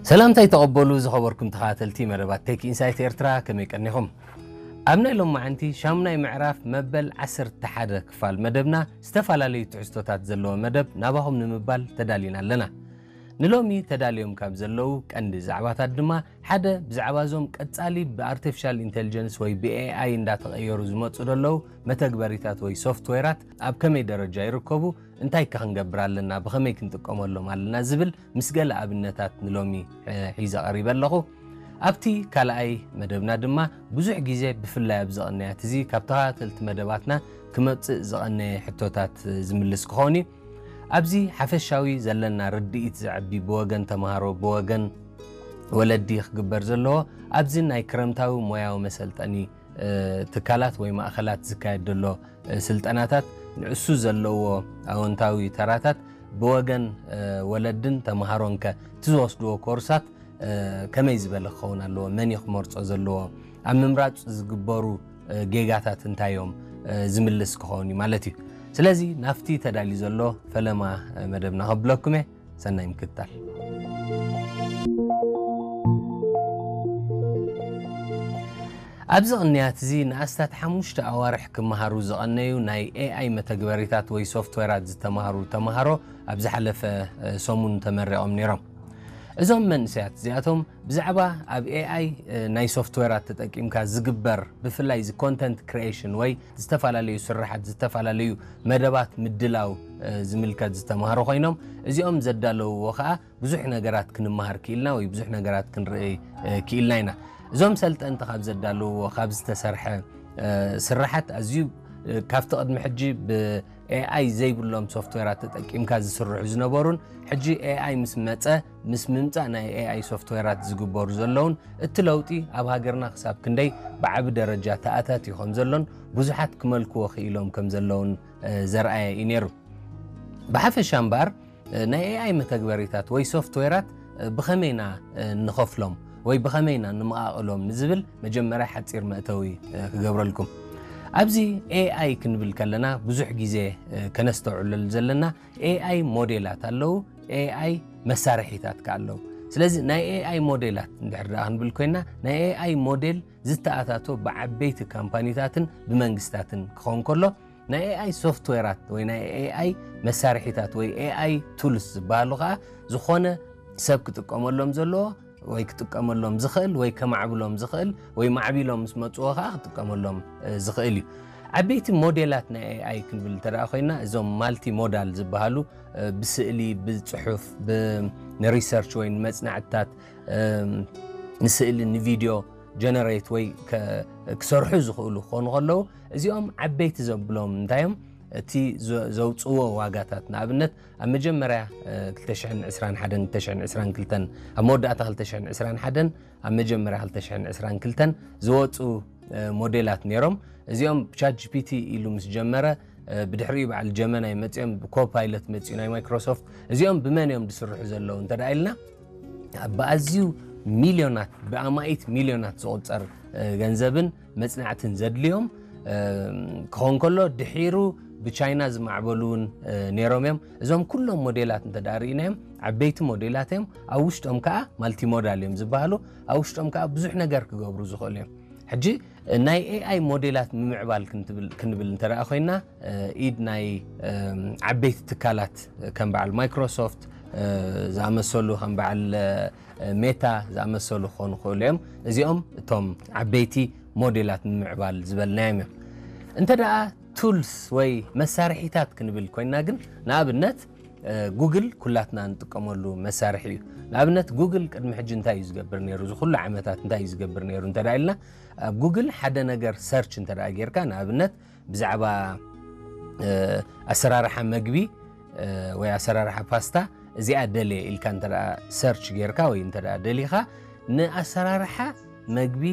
ሰላምታይ ተቐበሉ ዝኸበርኩም ተኸታተልቲ መደባት ቴክ ኢንሳይት ኤርትራ፣ ከመይ ቀኒኹም? ኣብ ናይ ሎማዓንቲ ሻሙናይ ምዕራፍ መበል ዓሰርተ ሓደ ክፋል መደብና ዝተፈላለዩ ትሕዝቶታት ዘለዎ መደብ ናባኹም ንምባል ተዳሊና ኣለና። ንሎሚ ተዳልዮም ካብ ዘለዉ ቀንዲ ዛዕባታት ድማ ሓደ ብዛዕባ እዞም ቀጻሊ ብኣርቲፊሻል ኢንቴሊጀንስ ወይ ብኤኣይ እንዳተቐየሩ ዝመጹ ዘለዉ መተግበሪታት ወይ ሶፍትዌራት ኣብ ከመይ ደረጃ ይርከቡ፣ እንታይ ከ ክንገብር ኣለና፣ ብኸመይ ክንጥቀመሎም ኣለና ዝብል ምስ ገለ ኣብነታት ንሎሚ ሒዘ ቀሪበ ኣለኹ። ኣብቲ ካልኣይ መደብና ድማ ብዙሕ ግዜ ብፍላይ ኣብዚ ቅንያት እዚ ካብ ተኸታተልቲ መደባትና ክመጽእ ዝቐነየ ሕቶታት ዝምልስ ክኸውን እዩ። ኣብዚ ሓፈሻዊ ዘለና ርድኢት ዘዕቢ ብወገን ተምሃሮ፣ ብወገን ወለዲ ክግበር ዘለዎ ኣብዚ ናይ ክረምታዊ ሞያዊ መሰልጠኒ ትካላት ወይ ማእኸላት ዝካየድ ዘሎ ስልጠናታት ንእሱ ዘለዎ ኣወንታዊ ተራታት ብወገን ወለድን ተምሃሮን ከ እቲ ዝወስድዎ ኮርሳት ከመይ ዝበለ ክኸውን ኣለዎ? መን እዩ ክመርጾ ዘለዎ? ኣብ ምምራጽ ዝግበሩ ጌጋታት እንታይ እዮም? ዝምልስ ክኸውን እዩ ማለት እዩ። ስለዚ ናብቲ ተዳልዩ ዘሎ ፈለማ መደብና ከብለኩም እየ። ሰናይ ምክትታል። ኣብዚ ቅንያት እዚ ንኣስታት ሓሙሽተ ኣዋርሕ ክመሃሩ ዝቐነዩ ናይ ኤኣይ መተግበሪታት ወይ ሶፍትዌራት ዝተማህሩ ተምሃሮ ኣብ ዝሓለፈ ሰሙን ተመሪቖም ነይሮም። እዞም መንእሰያት እዚኣቶም ብዛዕባ ኣብ ኤኣይ ናይ ሶፍትዌራት ተጠቂምካ ዝግበር ብፍላይ እዚ ኮንተንት ክሪኤሽን ወይ ዝተፈላለዩ ስራሓት ዝተፈላለዩ መደባት ምድላው ዝምልከት ዝተማህሩ ኮይኖም እዚኦም ዘዳለውዎ ከዓ ብዙሕ ነገራት ክንመሃር ክኢልና ወይ ብዙሕ ነገራት ክንርኢ ክኢልና ኢና። እዞም ሰልጠንቲ ካብ ዘዳለውዎ ካብ ዝተሰርሐ ስራሓት ኣዝዩ ካብቲ ቅድሚ ሕጂ ብኤኣይ ዘይብሎም ሶፍትዌራት ተጠቂምካ ዝስርሑ ዝነበሩን ሕጂ ኤኣይ ምስ መፀ ምስ ምምፃእ ናይ ኤኣይ ሶፍትዌራት ዝግበሩ ዘለውን እቲ ለውጢ ኣብ ሃገርና ክሳብ ክንደይ ብዓቢ ደረጃ ተኣታትዩ ከም ዘሎን ብዙሓት ክመልክዎ ክኢሎም ከም ዘለውን ዘርኣየ እዩ ነይሩ። ብሓፈሻ እምበኣር ናይ ኤኣይ መተግበሪታት ወይ ሶፍትዌራት ብኸመይና ንኸፍሎም ወይ ብኸመይና ንምቓቕሎም ንዝብል መጀመርያ ሓፂር መእተዊ ክገብረልኩም። ኣብዚ ኤኣይ ክንብል ከለና ብዙሕ ግዜ ከነስተውዕለሉ ዘለና ኤኣይ ሞዴላት ኣለዉ፣ ኤኣይ መሳርሒታት ከ ኣለዉ። ስለዚ ናይ ኤኣይ ሞዴላት እንድሕር ደኣ ክንብል ኮይና ናይ ኤኣይ ሞዴል ዝተኣታቶ ብዓበይቲ ካምፓኒታትን ብመንግስታትን ክኸውን ከሎ ናይ ኤኣይ ሶፍትዌራት ወይ ናይ ኤኣይ መሳርሒታት ወይ ኤኣይ ቱልስ ዝበሃሉ ከዓ ዝኾነ ሰብ ክጥቀመሎም ዘለዎ ወይ ክጥቀመሎም ዝኽእል ወይ ከማዕብሎም ዝኽእል ወይ ማዕቢሎም ምስ መፅዎ ከዓ ክጥቀመሎም ዝኽእል እዩ። ዓበይቲ ሞዴላት ናይ ኤኣይ ክንብል እንተ ኮይና እዞም ማልቲ ሞዳል ዝበሃሉ ብስእሊ፣ ብፅሑፍ፣ ንሪሰርች ወይ ንመፅናዕትታት፣ ንስእሊ፣ ንቪድዮ ጀነሬት ወይ ክሰርሑ ዝኽእሉ ክኾኑ ከለዉ እዚኦም ዓበይቲ ዘብሎም እንታይ እዮም? እቲ ዘውፅዎ ዋጋታት ንኣብነት ኣብ መጀመርያ ክልተ ሽሕን ዕስራን ሓደን ክልተ ሽሕን ዕስራን ክልተን ኣብ መወዳእታ ክልተ ሽሕን ዕስራን ሓደን ኣብ መጀመርያ ክልተ ሽሕን ዕስራን ክልተን ዝወፁ ሞዴላት ነይሮም። እዚኦም ቻት ጂፒቲ ኢሉ ምስ ጀመረ ብድሕሪኡ በዓል ጀመናይ መፂኦም ብኮፓይለት መፂኡ ናይ ማይክሮሶፍት እዚኦም ብመን እዮም ዝስርሑ ዘለዉ እንተ ኢልና ብኣዝዩ ሚልዮናት ብኣማኢት ሚልዮናት ዝቑፀር ገንዘብን መፅናዕትን ዘድልዮም ክኸውን ከሎ ድሒሩ ብቻይና ዝማዕበሉ እውን ነይሮም እዮም። እዞም ኩሎም ሞዴላት እንተ ርኢናዮም ዓበይቲ ሞዴላት እዮም። ኣብ ውሽጦም ከዓ ማልቲሞዳል እዮም ዝበሃሉ። ኣብ ውሽጦም ከዓ ብዙሕ ነገር ክገብሩ ዝኽእሉ እዮም። ሕጂ ናይ ኤኣይ ሞዴላት ምምዕባል ክንብል እንተ ኮይና ኢድ ናይ ዓበይቲ ትካላት ከም በዓል ማይክሮሶፍት ዝኣመሰሉ ከም በዓል ሜታ ዝኣመሰሉ ክኾኑ ክእሉ እዮም። እዚኦም እቶም ዓበይቲ ሞዴላት ምምዕባል ዝበልናዮም እዮም። እንተ ደኣ ቱልስ ወይ መሳርሒታት ክንብል ኮይና ግን ንኣብነት ጉግል ኩላትና ንጥቀመሉ መሳርሒ እዩ። ንኣብነት ጉግል ቅድሚ ሕጂ እንታይ እዩ ዝገብር ነይሩ? እዚ ኩሉ ዓመታት እንታይ እዩ ዝገብር ነይሩ እንተ ኢልና ኣብ ጉግል ሓደ ነገር ሰርች እንተ ጌርካ ንኣብነት ብዛዕባ ኣሰራርሓ መግቢ ወይ ኣሰራርሓ ፓስታ እዚኣ ደልየ ኢልካ እንተ ሰርች ጌርካ ወይ እንተ ደሊኻ ንኣሰራርሓ መግቢ